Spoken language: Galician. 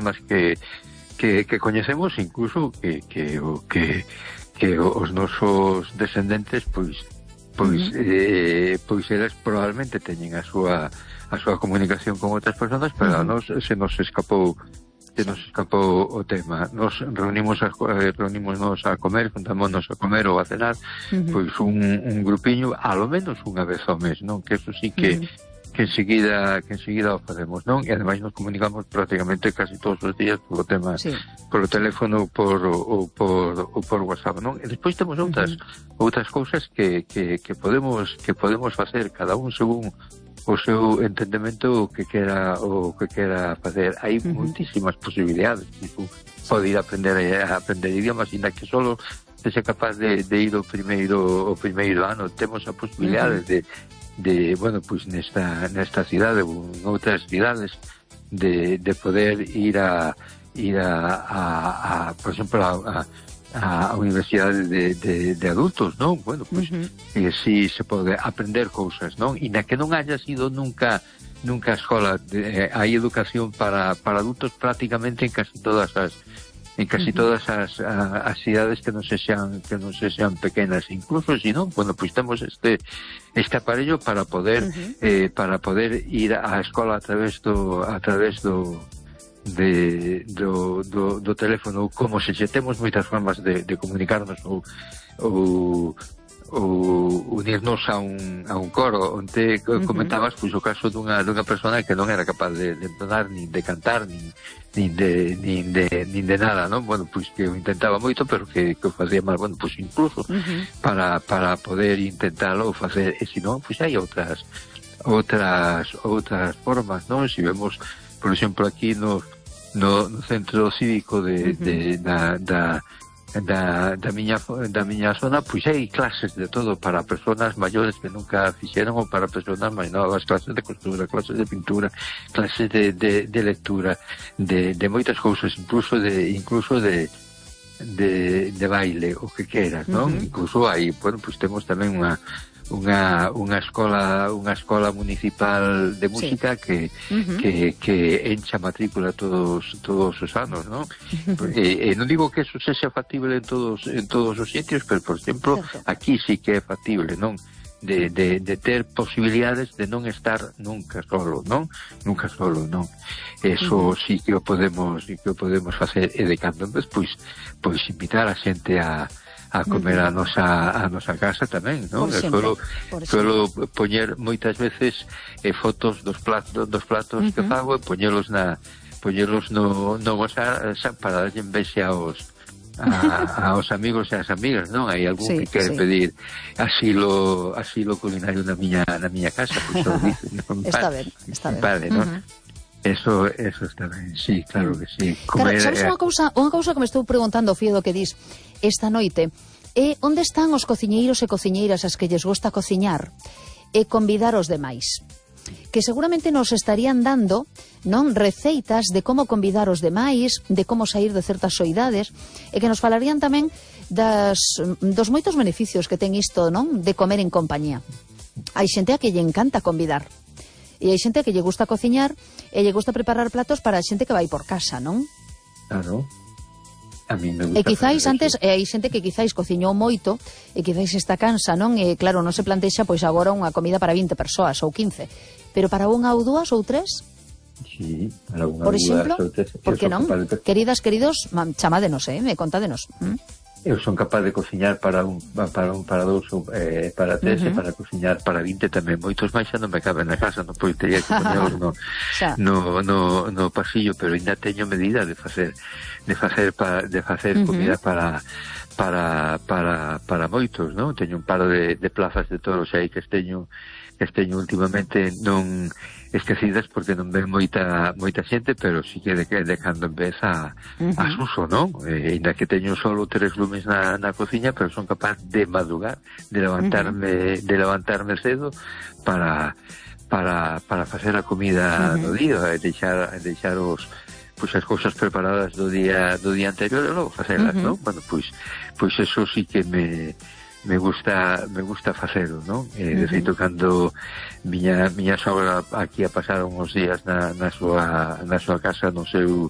personas que coñecemos, incluso que os nosos descendentes pois eles probablemente teñen a súa comunicación con outras personas, pero a nos se nos escapou o tema. Nos reunimos a comer, juntámonos a comer ou a cenar, pois un grupiño, a lo menos unha vez ao mes, non? Que eso sí que enseguida o facemos, non? E ademais nos comunicamos prácticamente casi todos os días polo tema, polo teléfono ou por WhatsApp, non? E despois temos outras cousas que podemos facer cada un según o seu entendemento o que quera facer. Hai moitísimas posibilidades. Tipo, pode ir a aprender idiomas, ainda que solo sexa capaz de ir o primeiro ano. Temos a posibilidade de bueno, pues nesta cidade ou en outras cidades de poder ir a por exemplo a universidade de adultos, non? Bueno, pues si se pode aprender cousas, non? E na que non haya sido nunca a escola, hai educación para adultos prácticamente en casi todas as cidades que non se sean pequenas. Incluso se non, bueno, pues temos este aparello para poder ir á escola a través do teléfono, como se temos moitas formas de comunicarnos ou unirnos a un coro. Onte comentabas pois o caso dunha persona que non era capaz de entonar, nin de cantar, nin de nada, non? Bueno, pois que o intentaba moito, pero que o facía mal. Bueno, pois incluso para poder intentalo facer, e se non, pois hai outras formas, non? Se vemos, por exemplo, aquí no centro cívico da miña zona, pois hai clases de todo para persoas maiores que nunca fixeron, ou para persoas máis novas, clases de costura, clases de pintura, clases de lectura, de moitas cousas, incluso de baile, o que queras, non? Incluso hai, bueno, pois temos tamén unha escola municipal de música que encha matrícula todos os anos, non? Non digo que eso sexa factible en todos os sitios, pero, por exemplo, aquí sí que é factible, non? De ter posibilidades de non estar nunca solo, non? Eso sí que o podemos facer, e de cando en vez, pois invitar a xente a comer a nosa casa tamén, non? Suelo poñer moitas veces fotos dos platos que fago, e poñelos no WhatsApp para darlle envexe aos amigos e as amigas, non? Hai algún que quere pedir asilo culinario na miña casa, pois o dicen, non? Está ben. Vale, non? Eso está ben, sí, claro que sí. Claro, sabes unha cousa que me estou preguntando, Fío, do que dis esta noite, onde están os cociñeiros e cociñeiras as que lles gusta cociñar e convidar os demais? Que seguramente nos estarían dando, non, receitas de como convidar os demais, de como sair de certas soidades, e que nos falarían tamén dos moitos beneficios que ten isto, non, de comer en compañía. Hai xente a que lle encanta convidar, e hai xente a que lle gusta cociñar e lle gusta preparar platos para a xente que vai por casa, non? Claro. A mí me gusta. E quizáis antes, hai xente que quizáis cociñou moito e quizáis está cansa, non? E claro, non se plantexa pois agora unha comida para 20 persoas ou 15, pero para unha ou dúas ou tres? Sí, para unha por exemplo, ou tres. Por que non? Queridos, chamádenos, contádenos. Eu son capaz de cociñar para dous ou para tres, e para cociñar para 20 tamén. Moitos máis xa non me caben na casa, non, pois teria que poñelos no pasillo, pero ainda teño medida de facer comida para moitos, non? Teño un par de plazas de toros aí que teño últimamente non esquecidas porque non ven moita xente, pero sí que de cando en vez a suso, non? Ainda que teño solo 3 lumes na cociña, pero son capaz de madrugar, de levantarme cedo para facer a comida do día, e deixar as cousas preparadas do día anterior e logo facelas, non? Bueno, pois eso sí que me gusta facelo, non? De feito, cando miña sogra aquí a pasar uns días na súa casa, no seu